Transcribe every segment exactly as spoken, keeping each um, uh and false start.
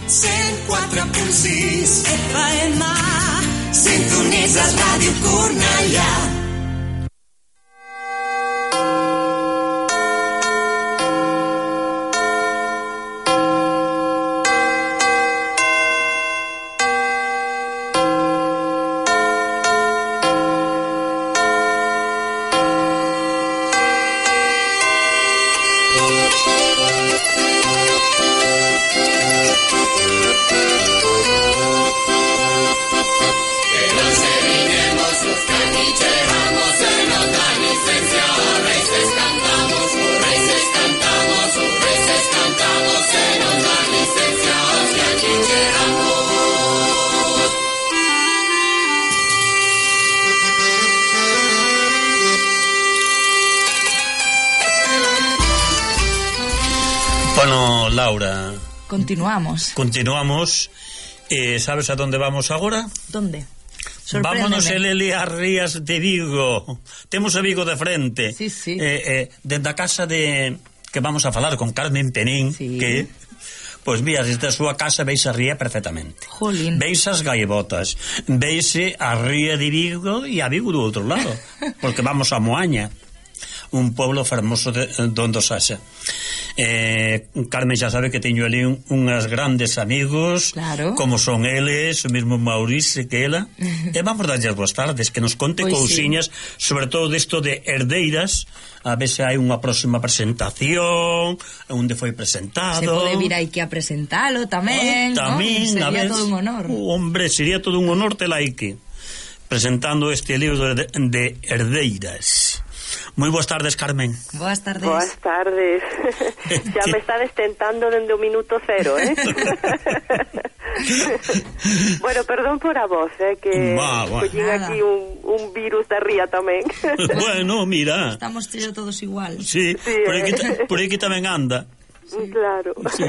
cent quatre punt sis F M. Sintonitzes Ràdio Cornellà. Bueno, Laura, Continuamos. Continuamos. Eh, ¿Sabes a dónde vamos agora? ¿Dónde? Vámonos a Lele as Rías de Vigo. Temos a Vigo de frente. Sí, sí. Eh, eh, dende a casa de... que vamos a falar con Carmen Penín, sí. que... Pois mira, desde a súa casa veis a ría perfectamente. Jolín. Veis as gaivotas, veise a ría de Vigo e a Vigo do outro lado, porque vamos a Moaña, un pueblo fermoso de donde Saxa. Eh, Carmen xa sabe que teño ali un, unhas grandes amigos, claro. Como son eles, o mesmo Maurice que ela, e vamos darlles boas tardes, que nos conte pois cousiñas, sí. Sobre todo disto de herdeiras, a ver se hai unha próxima presentación, onde foi presentado. Se pode vir aí que a presentalo tamén, oh, tamén, ¿no? Sería a ver, todo un honor. Oh, hombre, sería todo un honor tela aí que presentando este libro de, de herdeiras. Moi boas tardes, Carmen. Boas tardes. Boas tardes. Xa me está destentando dende o minuto cero, eh? Bueno, perdón por a voz, eh, que collín aquí un, un virus da ría tamén. Bueno, mira. Estamos todos igual. Sí, sí por, aquí, eh. por aquí tamén anda. Sí. Claro. Sí.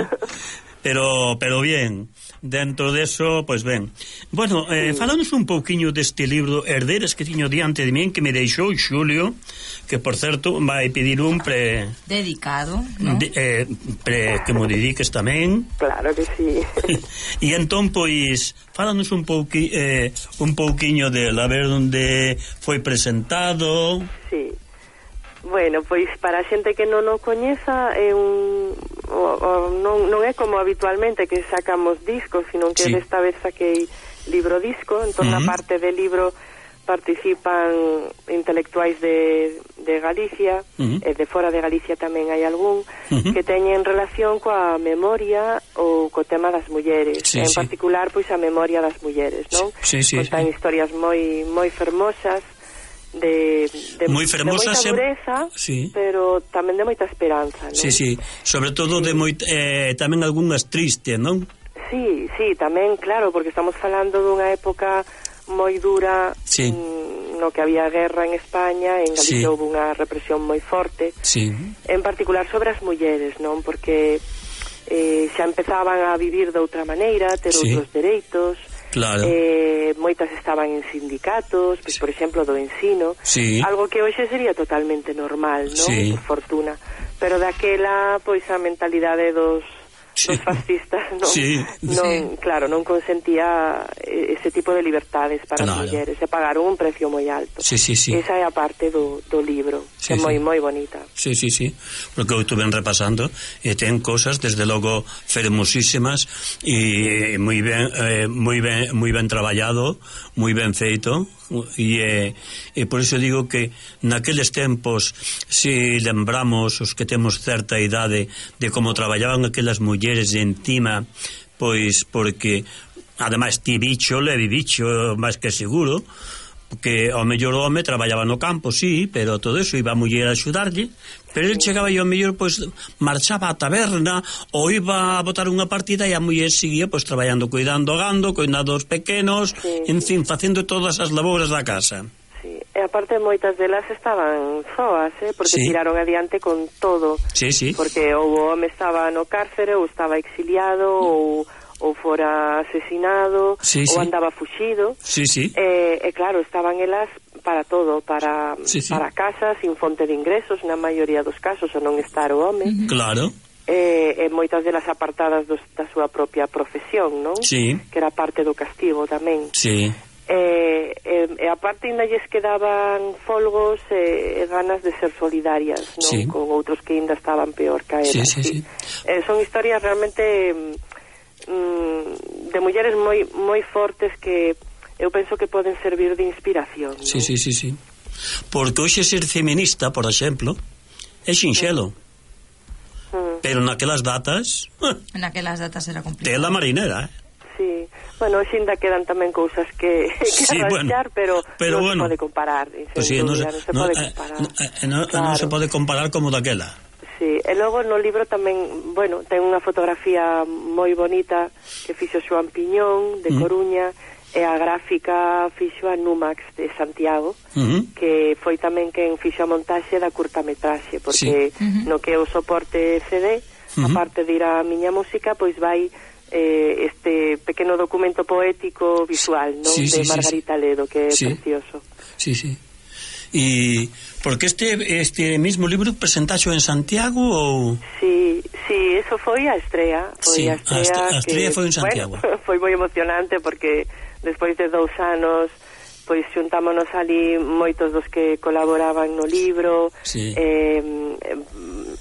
Pero, pero bien, dentro de eso, pues ben. Bueno, eh, sí. Falanos un pouquiño deste libro Herdeiras que tiño diante de min, que me deixou Xulio, que por certo vai pedir un pre... Dedicado, ¿no? De, eh, pre que mo dediques tamén. Claro que sí. E entón, pois, falanos un pouqui, eh, un pouquiño de a ver onde foi presentado. Sí. Bueno, pois para a xente que non o coñeza é un o, o, non, non é como habitualmente que sacamos discos, sino que sí. Desta vez saquei libro disco, entón uh-huh. Na parte de libro participan intelectuais de, de Galicia, uh-huh. e de fora de Galicia tamén hai algún, uh-huh. que teñen relación coa memoria ou co tema das mulleres, sí, en sí. particular pois a memoria das mulleres, non? Sí, sí, Contan sí. historias moi moi fermosas, de, de, moi fermosa, de moita dureza, sí. Pero tamén de moita esperanza, non? Sí, sí, sobre todo sí. de moita, eh, tamén algunhas tristes, non? Sí, sí, tamén, claro, porque estamos falando dunha época moi dura, sí. mm, no que había guerra en España, en Galicia sí. Houve unha represión moi forte, sí. En particular sobre as mulleres, non? Porque eh, xa empezaban a vivir de outra maneira, ter sí. Outros dereitos. Claro. Eh, moitas estaban en sindicatos, pois, sí. Por exemplo, do ensino, sí. Algo que hoxe sería totalmente normal, non? Sí. Por fortuna. Pero daquela, pois, a mentalidade dos, sí. Dos fascistas non, sí. non, sí. claro, non consentía ese tipo de libertades para claro. As mulleres, se pagaron un precio moi alto. Sí, sí, sí. Esa é a parte do, do libro, sí, que é moi, sí. moi bonita. Sí, sí, sí, porque eu estuve repasando e ten cosas, desde logo, fermosísimas e moi ben, eh, moi ben, moi ben traballado, moi ben feito, e, eh, e por iso digo que naqueles tempos, se lembramos os que temos certa idade de como traballaban aquelas mulleres de encima, pois porque ademais ti bicho, levi bicho máis que seguro, porque ao mellor o home traballaba no campo, sí, pero todo eso iba a muller a axudarlle, pero el chegaba e ao mellor pois marchaba á taberna ou iba a botar unha partida e a muller seguía pois traballando, cuidando o gando, cuidando os pequenos, sí, en fin, facendo todas as labouras da casa. Sí, e aparte moitas delas estaban soas, eh, porque sí. Tiraron adiante con todo. Sí, sí. Porque ou o home estaba no cárcere ou estaba exiliado ou ou fora asesinado, sí, ou sí. andaba fuxido. Sí, sí. E, e claro, estaban elas para todo, para, sí, sí. para casa, sin fonte de ingresos, na maioría dos casos, ou non estar o home. Claro. e, e moitas delas apartadas dos, da súa propia profesión, non? Sí. Que era parte do castigo tamén. Sí. E, e, e aparte ainda lles quedaban folgos e, e ganas de ser solidarias, non? Sí. Con outros que ainda estaban peor que elas. Sí, sí, sí. Eh, son historias realmente mm, de mulleres moi moi fortes que eu penso que poden servir de inspiración, non? Sí, sí, sí, sí. Porque hoxe ser feminista, por exemplo, é sinxelo. Mm. Pero naquelas datas... Naquelas datas era complicado. Tela marinera, eh? Sí. Bueno, hoxe ainda quedan tamén cousas que, que sí, arranxar, bueno, pero, pero non bueno, se pode comparar. Pues sí, no, se, non se no, pode eh, comparar. No, eh, no, claro. non se pode comparar como daquela. Sí, e logo no libro tamén, bueno, ten unha fotografía moi bonita que fixo Xoán Piñón de mm. Coruña, e a gráfica fixo a Numax de Santiago, uh-huh. que foi tamén quen fixo a montaxe da curtametraxe, porque sí. uh-huh. no que é o soporte C D, uh-huh. aparte de ir a miña música, pois vai eh, este pequeno documento poético visual, non? Sí, de sí, Margarita sí. Ledo, que é sí. precioso. Sí, sí. E porque este este mismo libro presentaxo en Santiago ou... Sí, sí, eso foi a estrea, foi sí, a estrea, a estrea que, foi en Santiago. Bueno, foi moi emocionante porque despois de dous anos pois xuntámonos ali moitos dos que colaboraban no libro, sí. eh,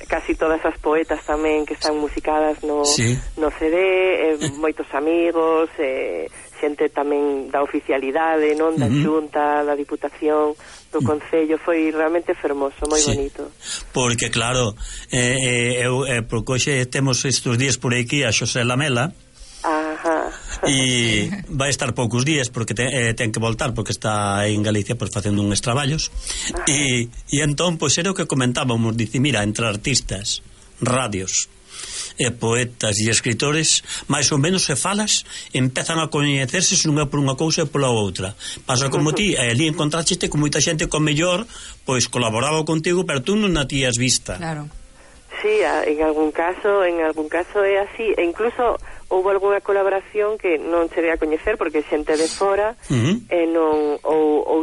casi todas as poetas tamén que están musicadas no, sí. no C D, eh, moitos amigos, eh, xente tamén da oficialidade, non, da uh-huh. Xunta, da Diputación, do Concello, foi realmente fermoso, moi sí. bonito. Porque claro, eh, eh, eu, eh, porque hoxe temos estes días por aquí a Xosé Lamela. Ajá. E vai estar poucos días porque te, eh, ten que voltar porque está en Galicia pois facendo uns traballos e, e entón pois era o que comentábamos, dice, mira, entre artistas, radios e poetas e escritores máis ou menos se falas empezan a coñecerse se non é por unha cousa e pola outra. Pasa como ti, e ali encontraste con moita xente con mellor pois colaboraba contigo pero tú non a tías vista. Claro. Sí, en algún caso, en algún caso é así, e incluso houve algunha colaboración que non cheguei a coñecer porque xente de fora, uh-huh. e non ou, ou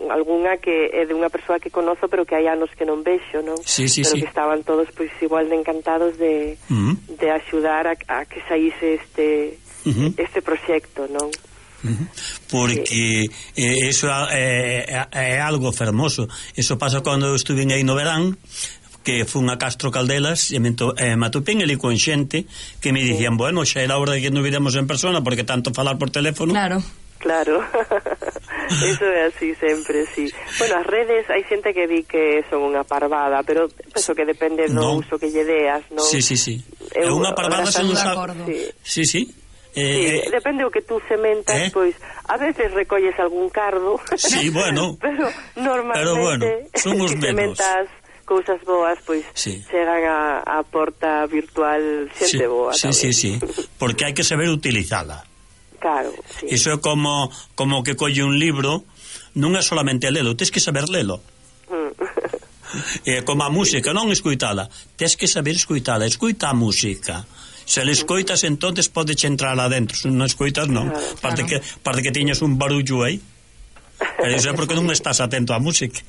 algunha que é de unha persoa que conozo pero que hai anos que non vexo, non? Sí, sí, pero sí. que estaban todos pois igual de encantados de, uh-huh. de axudar a, a que saíse este uh-huh. este proxecto, non? Uh-huh. Porque sí. eh, eso é, é, é algo fermoso. Eso pasa cando eu estuve aí no verán, que fun a Castro Caldelas e me, to, eh, me atopén ali con xente que me dicían, sí. bueno, xa era hora de que nos videmos en persona porque tanto falar por teléfono. Claro. Claro. Eso é así sempre, sí. Bueno, as redes hai xente que di que son unha parvada, pero penso que depende do no. uso que lle deas, non? Sí, sí, sí. É unha parvada se non sabe. Sí, sí. sí. Eh, sí, depende o que tú sementas, eh? Pois a veces recolles algún cardo. Sí, bueno. Pero normalmente pero bueno, son os menos. Sementas cousas boas, pois sí. chegan a, a porta virtual xente sí, boa. Sí, sí, sí, porque hai que saber utilizala. Claro, sí. Iso é como como que colle un libro, non é solamente lelo, tens que saber lelo. Mm. É como a música, non escoitala, tens que saber escoitala, escoita a música. Se le escoitas, entonces podes entrar adentro, se non escoitas, non. Claro, parte, claro. que, parte que tiñas un barullo aí, pero iso é porque non estás atento á música.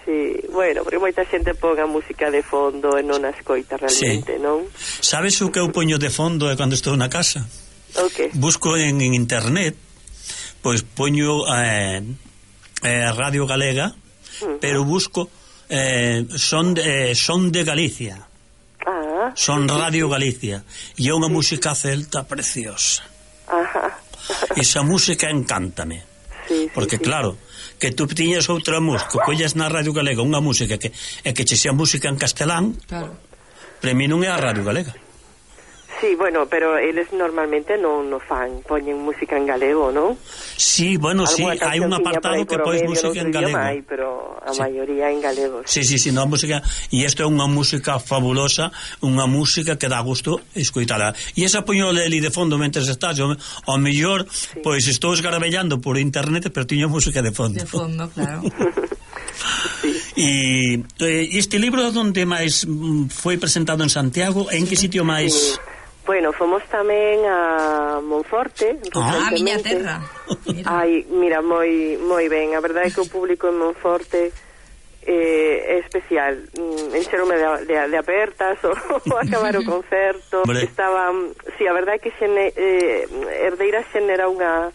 Sí, bueno, porque moita xente pon a música de fondo e non a escoita realmente, sí. non? Sabes o que eu poño de fondo é cando estou na casa? Okay. Busco en, en internet, pois poño eh, eh, Radio Galega, uh-huh. pero busco eh, son, de, eh, son de Galicia. Ah, son sí, Radio sí. Galicia e é unha sí. música celta preciosa. Ajá. Esa música encántame. Sí, porque sí, claro, que tú tiñas outra música, collas na Radio Galega unha música que é que che sea música en castelán, claro. Para mí non é a Radio Galega. Sí, bueno, pero eles normalmente non no fan, poñen música en galego, non? Sí, bueno, sí, hai un apartado que pois música en galego. Hai, pero a sí. maioría en galego. Sí, sí, sí, no, música, e isto é unha música fabulosa, unha música que dá gusto escoitala. E esa poño ali de fondo mentres estás, ao, ao mellor, sí. pois estou esgarabellando por internet, pero tiño música de fondo. De fondo, claro. E este libro onde máis foi presentado en Santiago, en que sitio máis... Sí. Bueno, fomos tamén a Monforte. Ah, a miña terra. Mira. Ai, mira, moi moi ben. A verdade é que o público en Monforte eh, é especial. Mm, enxerome de, de, de apertas o, o acabar o concerto. Vale. Estaba, si, sí, a verdade é que xene, eh, Herdeiras xenera unha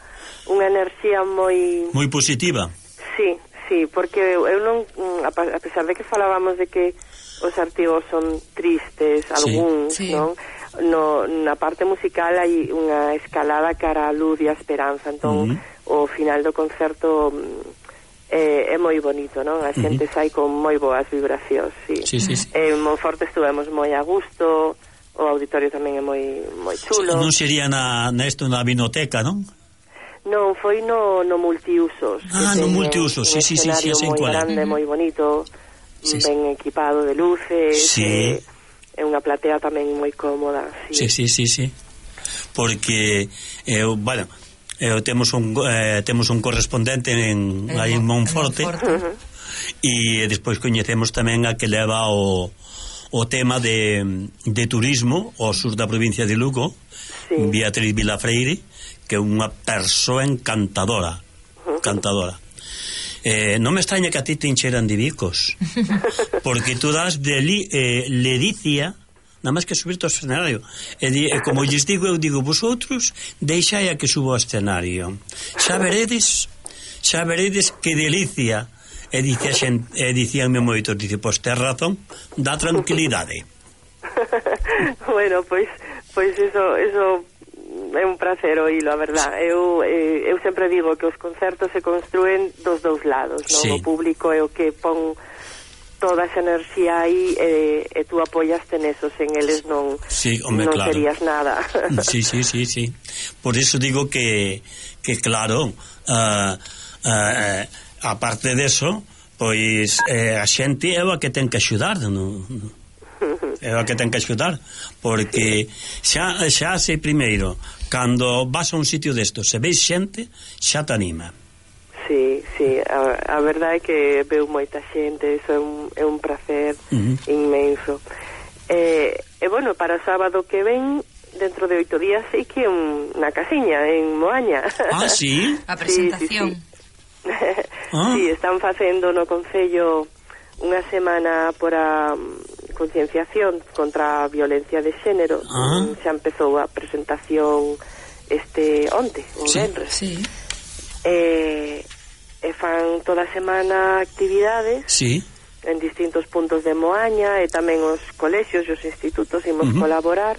unha enerxía moi moi positiva. Sí, sí, porque eu, eu non, a, a pesar de que falábamos de que os artigos son tristes, algúns, sí, sí. non? No, na parte musical hai unha escalada cara a luz e a esperanza, entón uh-huh. o final do concerto é, é moi bonito, non? A xente uh-huh. sai con moi boas vibracións, sí. Sí, sí, sí. En Monforte estuvemos moi a gusto, o auditorio tamén é moi moi chulo. Non sería na, na esto na vinoteca, non? Non, foi no, no multiusos. Ah, no multiusos, sí, sí, sí, sí, sí, moi grande, moi bonito, sí, ben sí. equipado de luces, sí. eh, é unha platea tamén moi cómoda. Sí, sí, sí, sí, sí. Porque eu, bueno, eu temos un eh, temos un correspondente en aí en Monforte. Uh-huh. E despois coñecemos tamén a que leva o o tema de, de turismo ao sur da provincia de Lugo, sí. Beatriz Vilafreire, que é unha persoa encantadora, encantadora. Eh, non me extraña que a ti te encheran de bicos, porque tú das de li, eh, ledicia nada máis que subirte ao escenario, e, di, e como lles digo, eu digo, vosotros deixai a que subo ao escenario, xa veredes xa veredes que delicia. E dice a xente, e dicíanme moitos, dice, pois tes razón, dá tranquilidade. Bueno, pois pois eso, eso é un placer oílo, a verdad. Eu, eh, eu sempre digo que os concertos se construen dos dous lados, non? Sí. O público é o que pon toda esa enerxía aí e, e tú apoiaste neso, sen eles non, sí, hombre, non claro. serías nada. Sí, sí, sí, sí. Por eso digo que, que claro, uh, uh, aparte deso, pois eh, a xente é a que ten que axudar, non? É a que ten que axudar, porque xa, xa sei primeiro, cando vas a un sitio destos, se veis xente, xa te anima. Sí, sí, a, a verdade é que veo moita xente, eso é un, é un placer uh-huh. inmenso. E, e bueno, para o sábado que ven, dentro de oito días, sei que é un, na casiña, en Moaña. Ah, sí? A presentación. Sí, sí, sí. Ah. Sí, están facendo no Concello unha semana por a concienciación contra a violencia de xénero. Ah. Xa empezou a presentación este onte, o sí. venres. Sí. E, e fan toda a semana actividades sí. en distintos puntos de Moaña, e tamén os colexios e os institutos imos uh-huh. colaborar.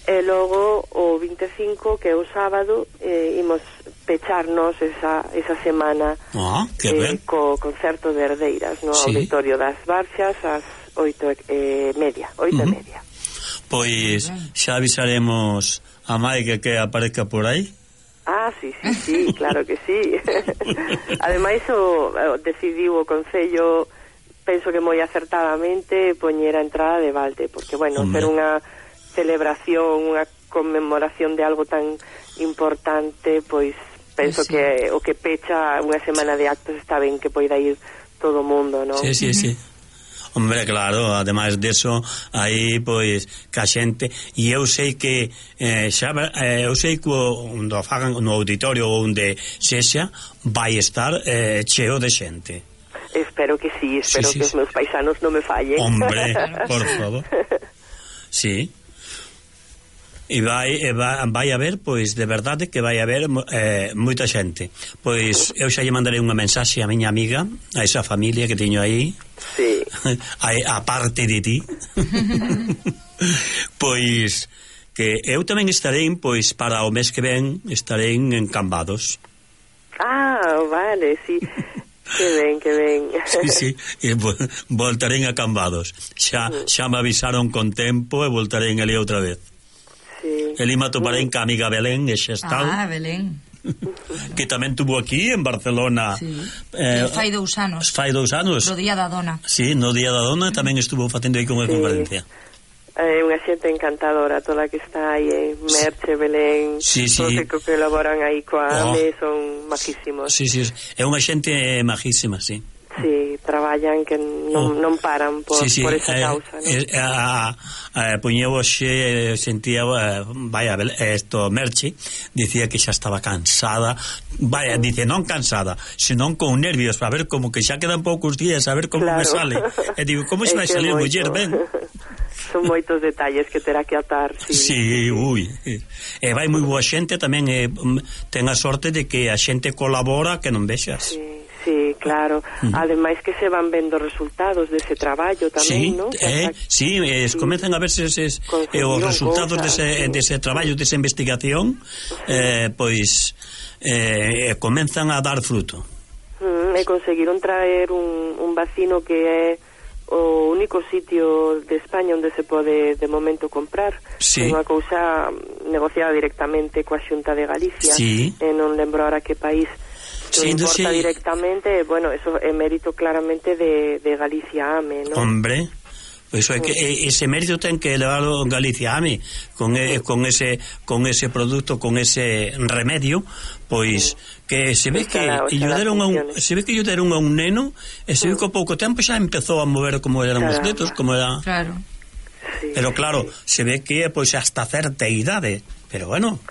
E logo o vinte e cinco, que é o sábado, eh, imos pecharnos esa, esa semana ah, que eh, ben. co concerto de Herdeiras no sí. Auditorio das Barxas ás oito e media, oito uh-huh. e media. Pois xa avisaremos a Maique que aparezca por aí. Ah, sí, sí, sí, claro que sí. Ademais o, o decidiu o Concello, penso que moi acertadamente, poñer a entrada de balde, porque bueno, ser unha celebración, unha conmemoración de algo tan importante, pois penso sí. que o que pecha unha semana de actos está ben que poida ir todo o mundo, non? Sí, sí, sí. Hombre, claro, ademais deso, aí, pois, que a xente, e eu sei que eh, xa, eh, eu sei que onde fagan no auditorio ou onde sexa, vai estar eh, cheo de xente. Espero que sí, espero sí, sí, que os meus paisanos non me fallen. Hombre, por favor. Sí. E vai, e vai, vai haber, pois, de verdade que vai haber eh, moita xente. Pois eu xa lle mandarei unha mensaxe a miña amiga, a esa familia que teño aí, sí. a, a parte de ti. Pois que eu tamén estarei, pois, para o mes que ven estarei en Cambados. Ah, vale, sí. Que ben, que ben. Sí, sí, e voltarei a Cambados. Xa, xa me avisaron con tempo e voltarei ali outra vez. Sí. El ima toparei en ca amiga Belén e Xestal. Ah, Belén. Que tamén tuvo aquí en Barcelona. Sí. Eh, fai dous anos. Fai dous anos. No Día da Dona. Sí, no Día da Dona tamén estuvo facendo aí con unha sí. conferencia. É eh, unha xente encantadora toda que está aí en Merche, Belén, sí, sí. todos que colaboran aí coa oh. A M E son majísimos. Sí, sí, é unha xente majísima, sí. Sí, traballan traballan que non, oh. non paran por, sí, sí. por esa eh, causa, non? Eh, a, a, puñeu hoxe, sentía, vaya, esto, Merche, dicía que xa estaba cansada, vaya, dice, non cansada, senón con nervios, a ver, como que xa quedan poucos días, a ver como claro. me sale. E digo, como se vai salir, muller, ben? Son moitos detalles que terá que atar, sí. Sí, ui. E vai moi boa xente tamén, eh, ten a sorte de que a xente colabora que non vexas. Sí. Sí, claro. Uh-huh. Ademais que se van vendo resultados dese traballo tamén, sí, non? Eh, sí, es, sí, comezan a verse eses, eh, os resultados dese, sí. dese traballo, desa investigación, sí. eh, pois eh, comenzan a dar fruto. Uh-huh. E conseguiron traer un, un vacino que é o único sitio de España onde se pode de momento comprar. Sí. É unha cousa negociada directamente coa Xunta de Galicia. Sí. E non lembro ahora que país. Sí, non importa sí. directamente, bueno, eso é mérito claramente de, de Galicia A M E, ¿no? Hombre, eso é que ese mérito ten que levarlo Galicia A M E con, e, con ese con ese produto, con ese remedio, pois que se ve que lle deron a un, se ve que lle deron a un neno e se ve que a pouco tempo xa empezou a mover como eran os dedos, como era. Claro. Sí, pero claro, sí. se ve que pois hasta certa idade, pero bueno,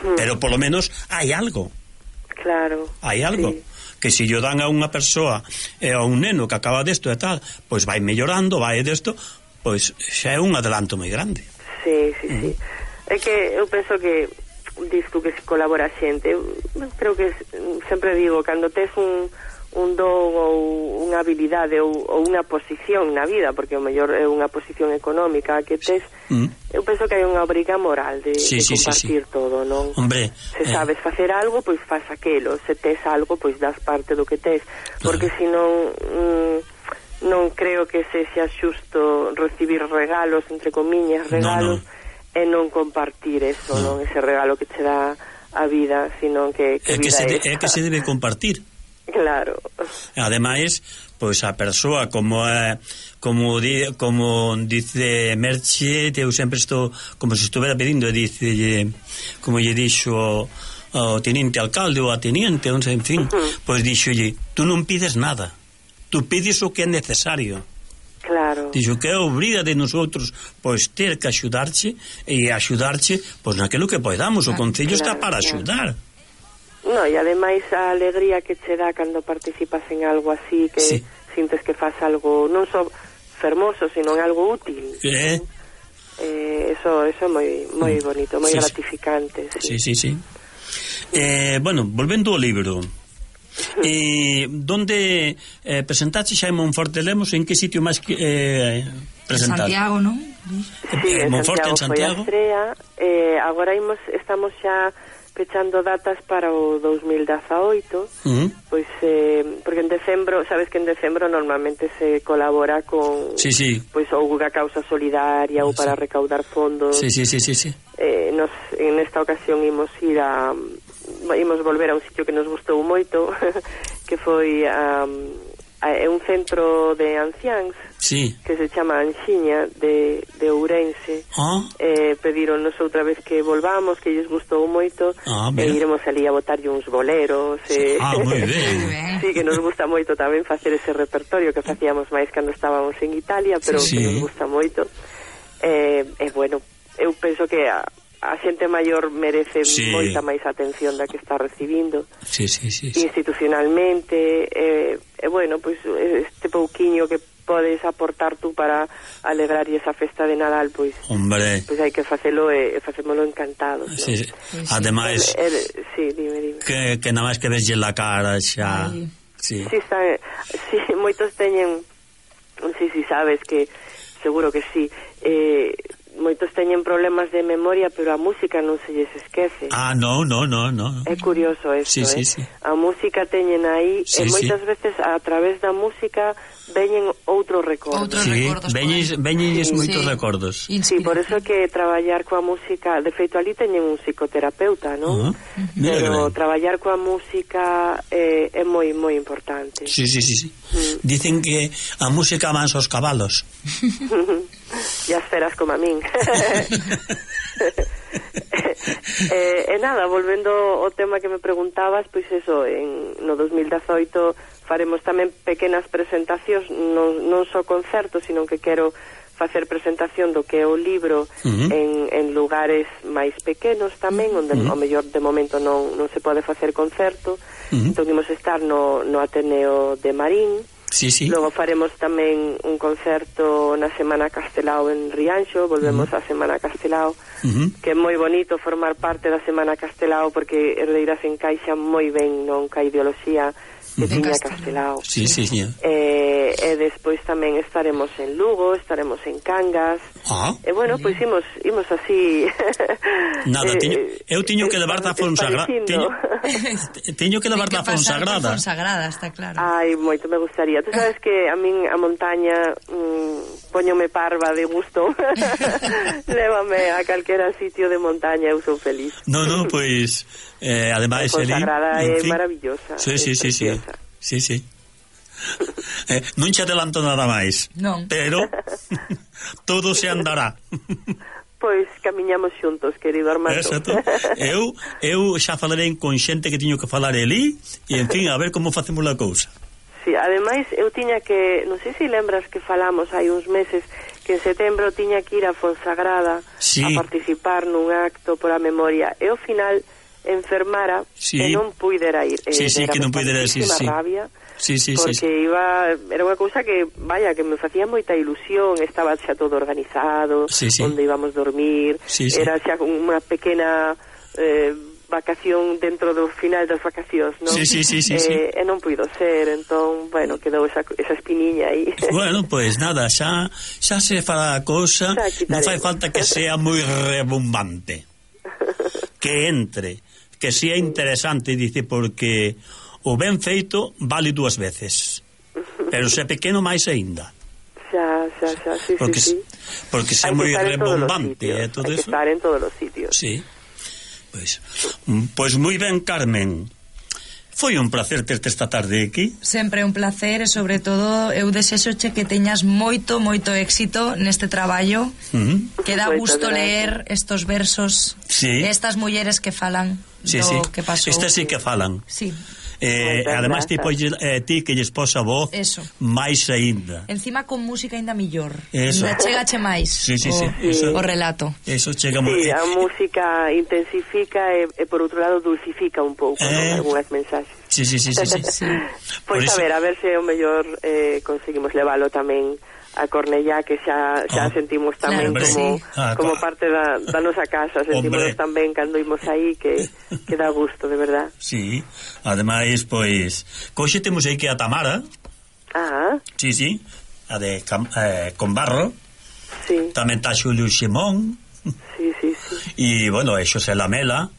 mm. pero polo menos hai algo. Claro. Hai algo. Sí. Que se yo dan a unha persoa e a un neno que acaba desto e tal, pois vai mellorando, vai desto, pois xa é un adelanto moi grande. Sí, sí, uh-huh. sí. É que eu penso que dis tú que se colabora a xente, eu creo que sempre digo, cando tes un un don ou unha habilidade ou, ou unha posición na vida, porque o mellor é unha posición económica que tes, mm. eu penso que hai unha obriga moral de, sí, de sí, compartir sí, sí. todo, non? Hombre, se sabes eh... facer algo, pois faz aquelo, se tes algo, pois das parte do que tes, porque claro. senón mm, non creo que se xa xusto recibir regalos, entre comiñas, regalos, no, no. e non compartir eso, no. non ese regalo que che dá a vida, sino que, que é vida que se de, é que se debe compartir. Claro. Ademais, pois a persoa como é, como di, como dice Merche, eu sempre estou como se estuvera pedindo, dice como lle dixo ao teniente alcalde ou a teniente, non sei, en fin, uh-huh. pois dixolle, tú non pides nada. Tú pides o que é necesario. Claro. Dixo que é obriga de nosotros pois ter que axudarche e axudarche pois naquilo que podamos. O Concello claro, está para axudar. Claro. No, e ademais a alegría que che dá cando participas en algo así, que sí. sintes que faz algo non só fermoso, sino en algo útil. Eh? Eh, eso eso é moi moi bonito, moi sí, gratificante. Sí, sí, sí. sí. Eh, bueno, volvendo ao libro. Eh, donde eh, presentaste xa en Monforte Lemos, en que sitio máis que eh, presentaste? Santiago, non? Sí, eh, en Monforte, Santiago, en Santiago. Foi a estrea, eh, agora imos, estamos xa pechando datas para o dos mil dezaoito, uh-huh. pois eh, porque en decembro, sabes que en decembro normalmente se colabora con sí, sí. pois ou unha causa solidaria ou sí. para recaudar fondos. Sí, sí, sí, sí, sí. Eh, nos, en esta ocasión imos ir a imos volver a un sitio que nos gustou moito, que foi a, a, a un centro de anciáns. Sí. Que se chama Anxiña de, de Ourense. Ah. Eh, pedironnos outra vez que volvamos, que lles gustou moito, ah, e iremos ali a botarlle uns boleros. Eh. Ah, moi ben. Sí, que nos gusta moito tamén facer ese repertorio que facíamos máis cando estábamos en Italia, pero sí, sí. que nos gusta moito. E eh, eh, bueno, eu penso que a, a xente maior merece sí. moita máis atención da que está recibindo. Sí, sí, sí, sí. Institucionalmente, e eh, eh, bueno, pois pues, este pouquiño que podes aportar tú para alegrar esa festa de Nadal, pois hombre, pois hai que facelo e facémolo encantados, ¿no? Sí, sí. Sí, ademais, el, el, sí, dime, dime. Que, que nada máis que veslle la cara xa. Ay. Sí. Sí, está, sí, moitos teñen, sí, sí, sabes que seguro que sí. Eh, moitos teñen problemas de memoria, pero a música non se lles esquece. Ah, no, no, no, no. É curioso eso, sí, eh? Sí, sí. A música teñen aí, sí, e moitas sí. veces a través da música veñen outros recordos. Outros sí, recordos. Veñen sí. moitos sí. recordos. Sí, por eso que traballar coa música, de feito ali teñen un psicoterapeuta, non? Uh-huh. Pero traballar coa música eh, é moi moi importante. Sí, sí, sí, sí. Mm. Dicen que a música amansa os cabalos. E as feras como a min. eh, e nada, volvendo ao tema que me preguntabas, pois eso, en, no dos mil dezaoito faremos tamén pequenas presentacións, non, non só concertos, sino que quero facer presentación do que é o libro uh-huh. en, en lugares máis pequenos tamén, onde uh-huh. ao mellor de momento non, non se pode facer concerto. Uh-huh. Entón imos estar no, no Ateneo de Marín. Sí, sí. Logo faremos tamén un concerto na Semana Castelao en Rianxo, volvemos uh-huh. á Semana Castelao, uh-huh. que é moi bonito formar parte da Semana Castelao porque Herdeiras encaixa moi ben non ca ideoloxía que uh-huh. tiña Castelao. Sí, sí, sí. Eh, e despois tamén estaremos en Lugo, estaremos en Cangas. Ah. E bueno, pois pues, imos imos así. Nada, teño, eu teño que levar da Fonsagrada. Teño, teño que levar da Fonsagrada. Fonsagrada, está claro. Ai, moito me gustaría. Tú sabes que a min a montaña mmm, poñome parva de gusto. Lévame a calquera sitio de montaña, eu sou feliz. No, no, pois pues, eh, ademais a Fonsagrada é fin, maravillosa. Sí, sí, sí, sí. Sí, sí. Eh, non che adelanto nada máis. Non. Pero todo se andará. Pois camiñamos xuntos, querido Armando. Exacto. Eu, eu xa falarei con xente que tiño que falar elí e, en fin, a ver como facemos a cousa. Sí, ademais, eu tiña que, non sei se lembras que falamos hai uns meses que en setembro tiña que ir a Fonsagrada sí. a participar nun acto por a memoria e ao final enfermara sí. e non puidera ir. Sí, sí, que non puidera ir, sí, sí. rabia. Sí, sí, porque sí, sí. iba, era unha cousa que, vaya, que me facía moita ilusión, estaba xa todo organizado, sí, sí. onde íbamos dormir, sí, sí. era xa unha pequena eh, vacación dentro do final das vacacións, non? Sí, sí, sí, sí, eh, sí. E non puido ser, entón, bueno, quedou esa, esa espiniña aí. Bueno, pois pues nada, xa, xa se fará a cousa, non fai falta que sea moi rebumbante. Que entre, que sea interesante, dice, porque o ben feito vale dúas veces, pero se é pequeno máis aínda. Xa, xa, xa, sí, porque, sí, sí. Porque se é moi rebombante e eh, todo hai eso. que estar en todos os sitios. Sí. Pois, pois moi ben, Carmen. Foi un placer terte esta tarde aquí. Sempre un placer e sobre todo eu desexoche que teñas moito, moito éxito neste traballo, uh-huh. que dá gusto leer estos versos sí. estas mulleres que falan sí, do sí. que pasou. Estas sí que falan. Sí. Eh, además ti, pois, eh, ti que lles posa voz eso. máis aínda. Encima con música aínda millor. Eso. Ainda chegache máis sí, sí, o, sí. Eso, o relato. Eso chega moi. Sí, a música intensifica e, e por outro lado dulcifica un pouco, eh... ¿no? Algúnas mensaxes. Sí, sí, sí, sí, sí. sí. Pois pues a ver, a ver se o mellor eh, conseguimos leválo tamén a Cornellá, que xa, xa oh, sentimos tamén claro, como, sí. ah, como parte da, da nosa casa, sentimos tamén cando imos aí que, que dá gusto, de verdad. Sí, ademais, pois coxe temos aí que a Tamara. Ah. Sí, sí, a de Cam, eh, con Barro. Sí. Tamén tá Xulio Ximón. Sí, sí, sí. E, bueno, e Xosé Lamela.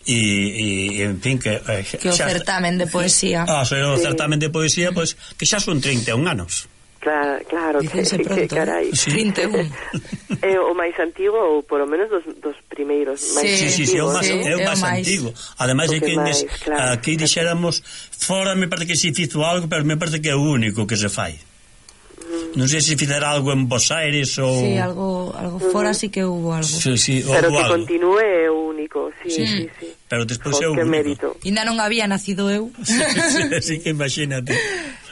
E, e en fin que eh, que o xa, certamen de poesía ah, o sí. certamen de poesía pois, que xa son trinta e un anos. Claro, claro, que, que carai sí. trinta e un é o máis antigo ou por lo menos dos, dos primeiros máis sí, sí, sí, o máis, sí, é o máis antigo. Ademais é que máis, claro, aquí dixéramos fora me parece que se fizo algo, pero me parece que é o único que se fai. Non sei se fizera algo en Bos Aires ou... Sí, algo, algo fora uh-huh. sí que hubo algo. Sí, sí, pero que algo. Continúe é o único, sí, sí, sí. sí. Pero despois é o único. Mérito. Ainda non había nacido eu. Sí, sí, así que imagínate.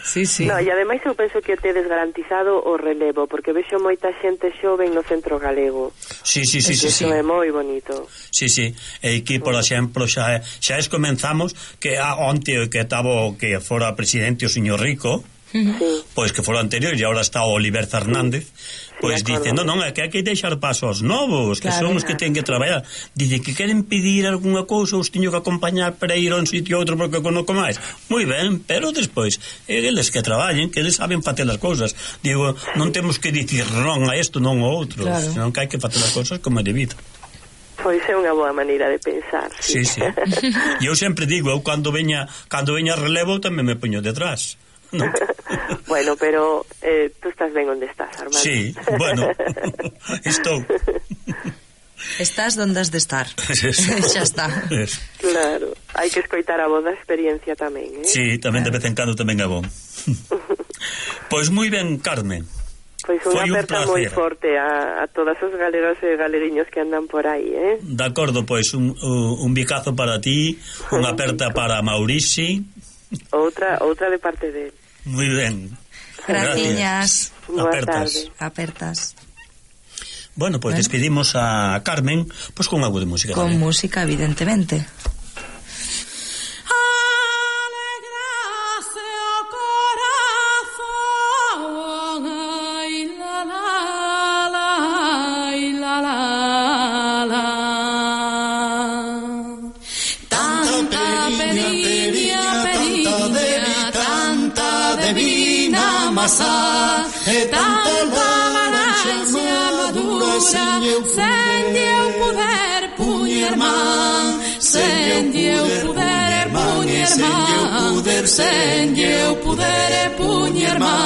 Sí, sí. No, e ademais eu penso que tedes garantizado o relevo, porque vexo moita xente xoven no centro galego. Sí, sí, sí, sí, sí. Eso é moi bonito. Sí, sí. E aquí, por exemplo, xa xa es comenzamos que a, onte que estaba que fora presidente o señor Rico. Uh-huh. Sí. Pois que foi o anterior e agora está o Oliver Fernández, sí. Pois sí, dice, non, non, é que hai que deixar paso aos novos, que claro, son os que ten que traballar. Dice que queren pedir algunha cousa, os teño que acompañar para ir a un sitio ou outro porque conozco máis. Moi ben, pero despois eles que traballen, que eles saben facer as cousas. Digo, non temos que dicir non a isto, non a outro, claro. Senón que hai que facer as cousas como é debido. Pois é unha boa maneira de pensar. Sí, sí. E eu sempre digo, eu cando veña, cando veña relevo tamén me poño detrás. No. Bueno, pero eh, tú estás ben onde estás, Armando. Sí, bueno, estou. Estás donde has de estar. Xa está. Claro, hai que escoitar a voz da experiencia tamén, eh? Sí, tamén de vez en cando tamén é bon. Pois moi ben, Carmen. Pois unha aperta moi forte a, a todas os galeros e galeriños que andan por aí, eh? De acordo, pois un, un bicazo para ti, unha aperta para Maurici. Outra, outra de parte de él. Muy ben. Gracias. Boa Apertas. tarde. Apertas. Bueno, pues Bueno. despedimos a Carmen pues con algo de música. Con también. música, evidentemente. E tanta laranxa madura sen eu poder puñer man, sen eu poder puñer man, sen eu poder puñer man.